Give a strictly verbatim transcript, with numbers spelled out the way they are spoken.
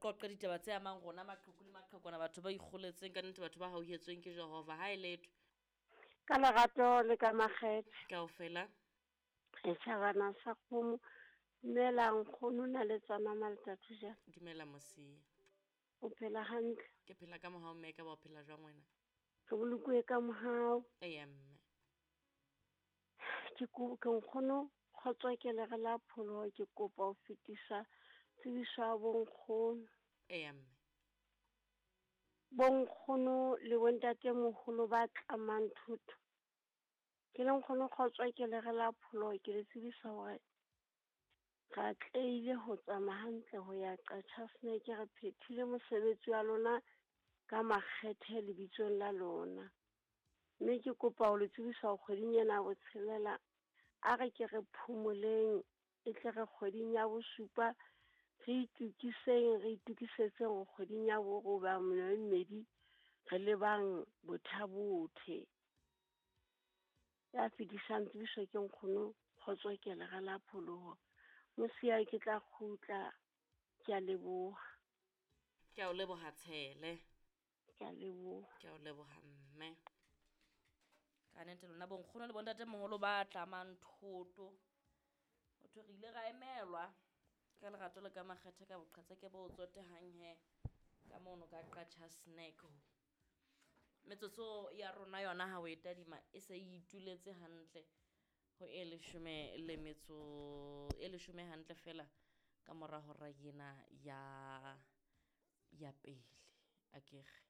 Re qoqe ditaba tse amang rona maqheku le maqhekwana, batho ba ikgoletseng ka nnete, batho ba hauhetsweng ke Jehova. Ha e letho. Ka lerato le ka makgethe. Kaofela. Setjhabana sa kgomo. Dumela nkgono na le tsana Maltatu jang? Dumela Mosia. O phela hantle? Ke phela ka mohau mme, ka ba o phela jwang wena? Re bolokuwe ka mohau. Eya mme. Ke ko ke nkgono kgotso ke le re la pholoho, ke kopa ho fetisa tsebiso ya bonkgono. Eya mme. Bonkgono le bontatemoholo ba tlamang thoto. Ke le nkgono kgotso ke le re la pholoho, ke le tsebisa hore re atlehile ho tsamaya hantle ho ya Qacha's Nek, re phethile mosebetsi wa lona ka makgethe lebitsong la lona. Mme ke kopa ho le tsebisa hore kgweding ena ya botshelela a re ke re phomoleng, e tle re kgweding ya bosupa re itukiseng, re itukisetseng hore kgweding ya boroba e mmedi re lebang Botha-Bothe. Ya fetisang tsebiso ke nkgono kgotso ke le re la pholoho. Mosia ke tla kgutla, ke a leboha. Ke a o leboha Tshele. Ke a leboha. Ke a o leboha mme. Ka nnete lona bonkgono le bontatemoholo ba tlamang thoto. Ho thwe re ile ra emelwa ka lerato le ka makgethe ka boqhetseke bo tsotehang he ka mono ka Qacha's Nek. Metsotso ya rona yona ha o e tadima e se e ituletse hantle ho e leshome le metso e leshome hantle fela ka mora hora ena ya ya pele akere.